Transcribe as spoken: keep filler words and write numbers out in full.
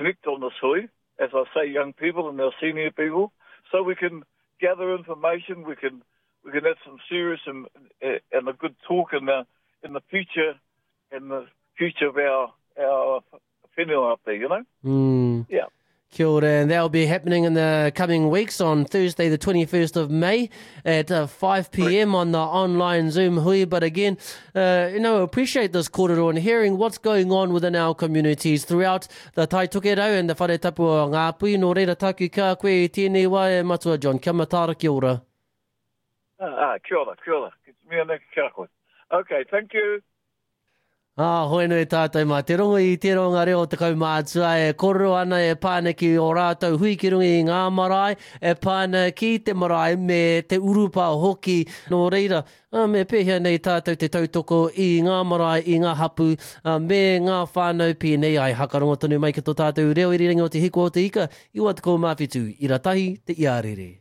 connect on this hui, as I say, young people and our senior people, so we can gather information, we can we can have some serious and, and a good talk in the in the future in the future of our our whenua up there, you know? Mm. Yeah. Kia ora, and that'll be happening in the coming weeks on Thursday, the twenty-first of May at uh, five p m on the online Zoom hui. But again, uh, you know, appreciate this kōrero and hearing what's going on within our communities throughout the Tai Tokerau and the Whare Tapu o Ngāpuhi. Nō reira taku ka koe i tēnei wā e Matua John. Kia mataara, kia ora. Ah, ah, kia ora, kia ora. Ki te mea nei kia koe. Okay, thank you. Ah, hoi nui tātou mā. Te rongo i te ronga reo te kaumātua e kōrero ana e pā ana ki o rātou hui ki runga i ngā marae, e pā ana ki te marae me te urupa hoki. Nō reira, ah, me pēhea nei tātou te tautoko i ngā marae, i ngā hapu, ah, me ngā whānau pēnei ai. Hakarongo tonu mai ki tō tātou reo irirangi o Te Hiku o Te Ika, iwa tekau mā whitu, ira tahi te iarere.